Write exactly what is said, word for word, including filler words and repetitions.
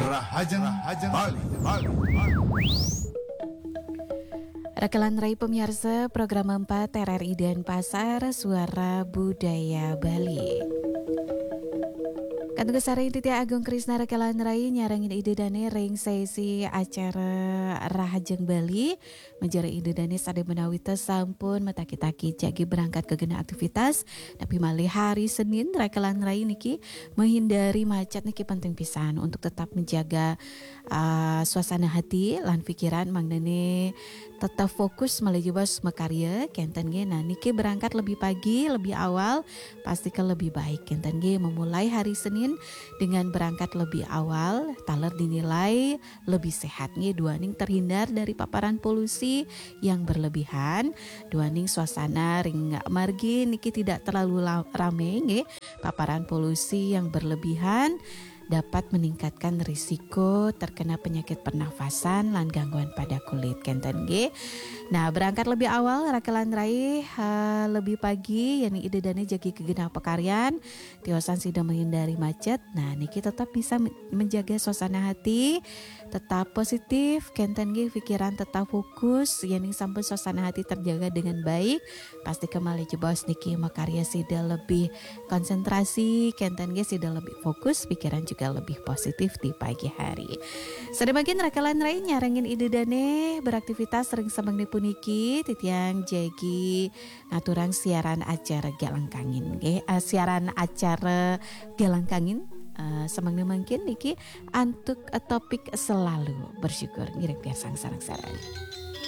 Rahajeng, Rahajeng Bali, Bali, Bali. Rakelan rai pamiarsa program empat R R I Denpasar, Suara Budaya Bali. Kantun kasareng titiang Agung Krisna rakelan rai nyarengin Ida Dane ring sesi acara Rahajeng Bali. Menjara Ida Dane sada menawi ta sampun mataki-taki jagi berangkat ka genah aktivitas, tapi malih hari Senin rakelan rai niki menghindari macet niki penting pisan untuk tetap menjaga, ah, suasana hati lan pikiran mangdane tetap fokus malih jebos makarya kenten nggih. Nah, niki berangkat lebih pagi, lebih awal, pasti ke lebih baik kenten nggih. Memulai hari Senin dengan berangkat lebih awal, taler dinilai lebih sehat nggih, duaning terhindar dari paparan polusi yang berlebihan, duaning suasana ring margi niki tidak terlalu la-, rame nggih. Paparan polusi yang berlebihan dapat meningkatkan risiko terkena penyakit pernafasan lan gangguan pada kulit kenten nggih. Nah, berangkat lebih awal rakelan rai, ha, lebih pagi, yeni Ida Dane jagi ke genah pakaryan, tiosan sida menghindari macet. Nah, niki tetap bisa men-, menjaga suasana hati, tetap positif kenten nggih, pikiran tetap fokus, yening sampun suasana hati terjaga dengan baik, pasti ke malih jebos niki makarya sida lebih konsentrasi kenten nggih, sida lebih fokus, pikiran juga lebih positif di pagi hari. Sada mangkin rakelan rai nyarengin Ida Dane beraktivitas ring semeng puniki, titiang jagi ngaturang siaran acara Galang Kangin nggih, eh, siaran acara Galang Kangin, eh, semeng mangkin niki antuk, eh, topik selalu bersyukur. Ngiring piarsang sareng-sareng.